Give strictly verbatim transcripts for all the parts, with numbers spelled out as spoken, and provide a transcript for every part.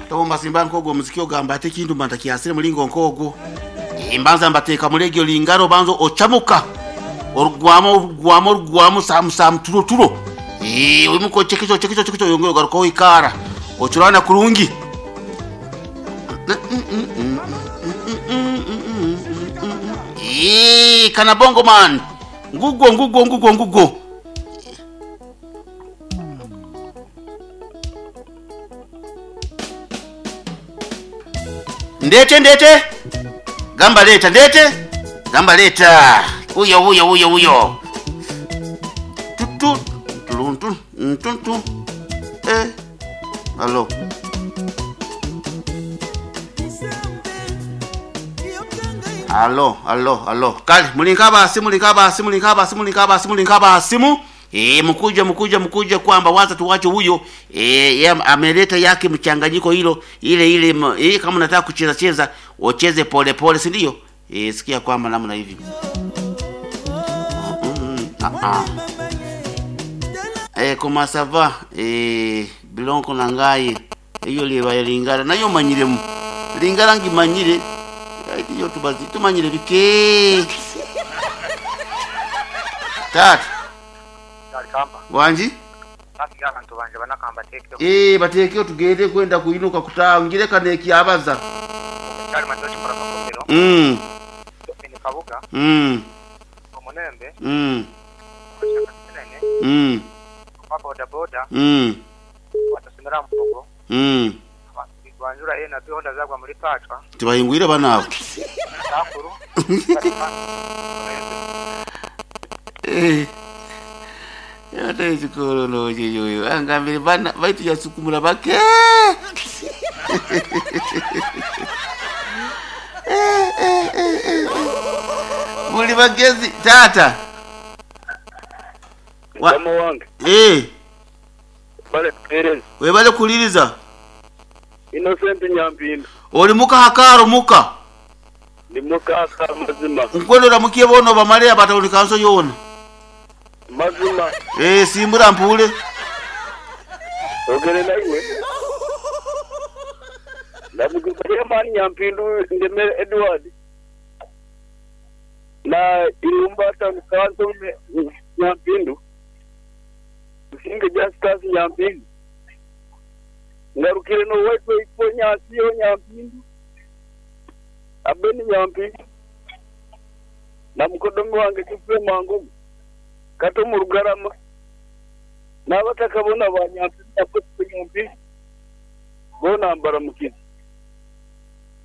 Tomba simba nkogo muziki ogamba ate kintu mba ntakyasire mulingo nkogo. Eh, mbanza mbateeka mulegyo lingaro banzo ochamuka. Orugwamo orugwamo orugwamo samu samu turo turo. Eh, oyimuko chekicho chekicho chekicho yongero garuka oikara. Ochurana kurungi. Eh, kana bongo man. Ngugo ngugo ngugo ngugo. Ndete ndete. Gamba leta ndete. Gamba leta. Uyo uyo uyo uyo. Tutu tuluntu ntuntu. Eh. Allo. Allo, allo, allo. Kale mulinka basi mulinka basi mulinka basi mulinka basi mulinka basimu. Eh, mkuja mkuja mkuja kwamba waza tuwache huyo eh, ya, ameleta yake mchanganyiko hilo ile ile m- eh, kama unataka kucheza cheza ucheze pole pole, si ndio? Eh, sikia kwamba namna hivi. Mm, ah, ah. Eh, comment ça va? Eh, bilonko na ngai iyo liba lingala nayo manyiremu lingala ngimanyire iyo tubazi tumanyire bike tata Alikamba. wanji Basi abantu banje banakamba tekeo. eh batekeo tugende kwenda kuinuka kutangire kaneki abaza Kyali matochi kora makomero. mm Ni kabuga. mm Omunembe. mm Nene. mm Kwa boda boda. mm Watasemera mpogo. mm Banjura ye na bihonda zagwa muri pachwa. tibahingwire banabo Takuru. Eh. Yata ekikololo yoyo angambire bana baitu yasukumula bake Eh, eh, eh, eh. muli bagezi tata Wa- Mukama wange eh bale Perez webale kuliriza Innocent Nyampinda oli muka hakaro muka ndi mukaka mazima nkwendera mukie bono bamale abatawuni kanso yona mazima eh simbura mpule ogere naiwe ndamukizalia mani Nyampindu ndemere Edward na Irumba town council me- Nyampindu Msinge Justus Nyampindu ngarukire no waitwe ipo nyasiyo Nyampindu Abeni Nyampindu na mukodomi wange Kifule Mwangumu kato mu Rugarama n'abataka bona ba Nyampindu na Bosco Nyampindu bona mbara mukina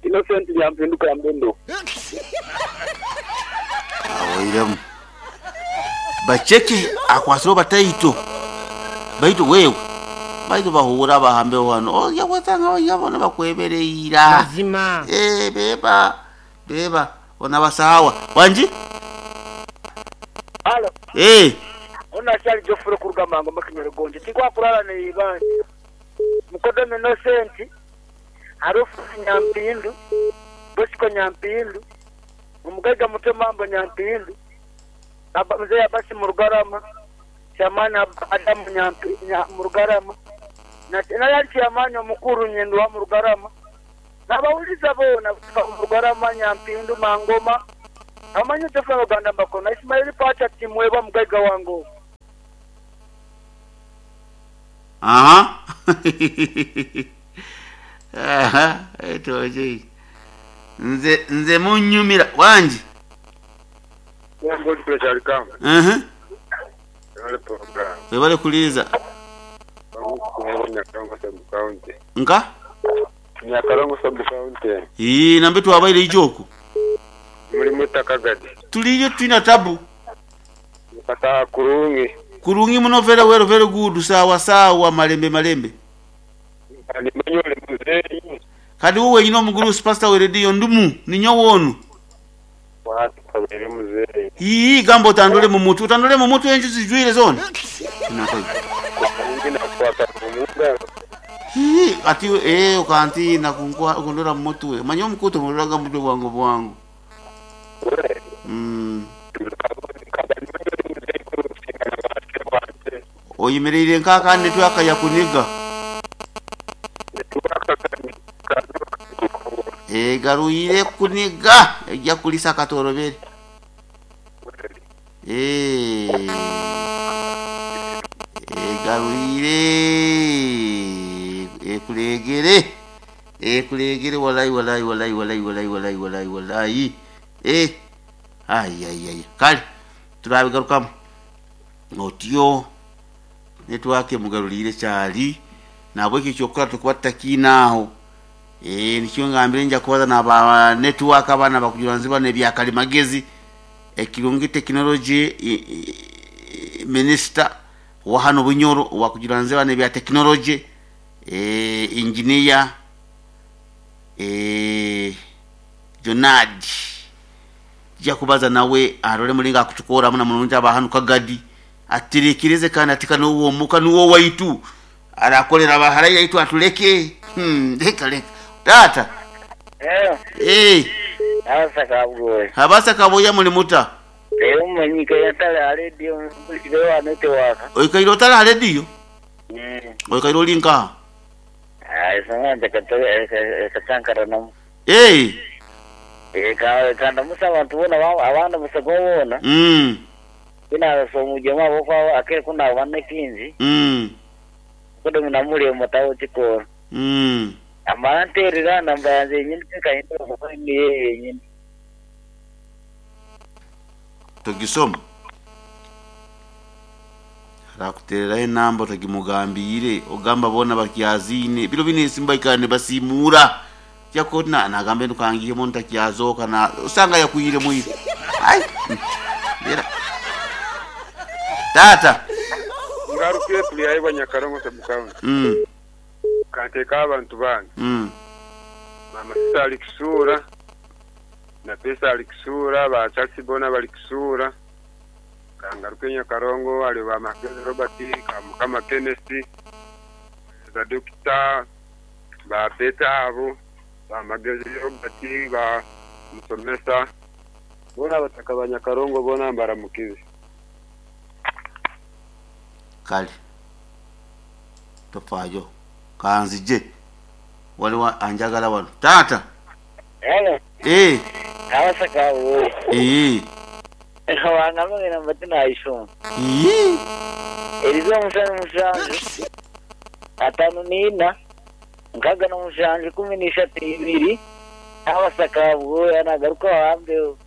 Innocent Nyampindu Kambendo awoiremu bacheke akwasire bataito baitu wewe baitu bahura bahambe wano oya wasanga oya bona bakwebereira mazima eh beba beba ona basawa wanji Alo. eh Ona kyali Geoffrey kurugamango makinyere gonje. Tikwakulala ne ibanje. Mukodome Innocent. Harufu Nyampindu. Bosco Nyampindu. Omugaiga muto mambo Nyampindu. Aba mzee Abasi Murugarama. Chamani Ab- Adamu Nyampi nya, Murugarama. Na na yali chamani omukuru nyendo wa Murugarama. Nabawuliza bona Murugarama Nyampindu Mangoma. Amanyi tefa Uganda mbakona Ismail Pacha timweba mugaiga wango. aha aha etoje nze nze munyumira wanji Wango kyali kamba mhm wale program webale kuliza Nyakarongo sub county nka Nyakarongo sub county ii nambe twabaire ijoku muri mutakagadi tuliyo twina tabu mukataha kurungi kurungi muno very well very good sawa sawa malembe malembe animanyole muzeyi kadi wowe wenyine omuguru pastor we radio ndumu ninyo wonu watu kabere muzeyi ii gamba otandule mu mutwe otandule mu mutwe enju zijwire zona Inakoi. nyingi nakwata kumuga Ii, ati eh ukantina kunkwa kundora mu mutwe manye omukutu mulolaga mutwe bwangu bwangu we mm oyimirire nkakandi twakaya kuniga Egarwire kuniga ejja kulisa katorobere. Eh. Egarwire ekulegere ekulegere walai walai walai walai walai walai walai walai eh ai ai ai kale turabigarukamu otyo network emugarurire kyali nabwo ekyo kyokora tukuba tutakiinaaho. Eh nikyo ngambire nja kubaza naba network abana bakujura nziba nebyakalimagezi ekirungi technology minister wa hano Bunyoro wakujura nziba nebya technology eh engineer eh Jonad ja kubaza nawe arole mulinga akutukora muna mulungi abahanu kagadi atirekireze kandi atika nuwo muka nuwo waitu arakolera bahara yaitu atuleke. hmm leka leka tata. Eh, eh abasa kabwoye. Habasa kaboya muli muta Eyo manyika yatala radio mpulire wa network. Oikaire otala radio. Mm. Oikaire olinka. Ai sanga katore katankara nam. Eh Eh ka kanda musa abantu bona abana musa gobona. mm Ina so mujema bokwa akere kuna wane kinzi. mm Kodo munamule mutawo chikora. mm Amanterera namba yanze nyini kahinda ni yeye nyini. Togisoma rakutereraho enamba togimugambire ogamba bona bakyazine biro bine simba ikane basimura yakona nagambe nukangiyemo ntakyazoka na usanga yakwire mwire ai bera tata. Ngarukiye tuliaibwa Nyakarongo sub-county. mm Kanteka abantu bange. mm Mama sisa alikisura na pesa alikisura ba Charles Bona balikisura. Kangaruke Nyakarongo ali ba Makezi Robert Kamukama Kenneth ba Doctor ba Peter abo ba Magezi Robert ba Musomesa bona bataka ba Nyakarongo bona mbaramukize. Kale tofayo kanzije waliwo anjagala wano tata. Hello. Eh Abasa kabwoye. eh Wangamba namba tinayishoma. eh Erizo omusana musanju atano nina nkaga n'omushanju kumi n'ishatu ibiri abasa kabwoya nagaruka wambeho.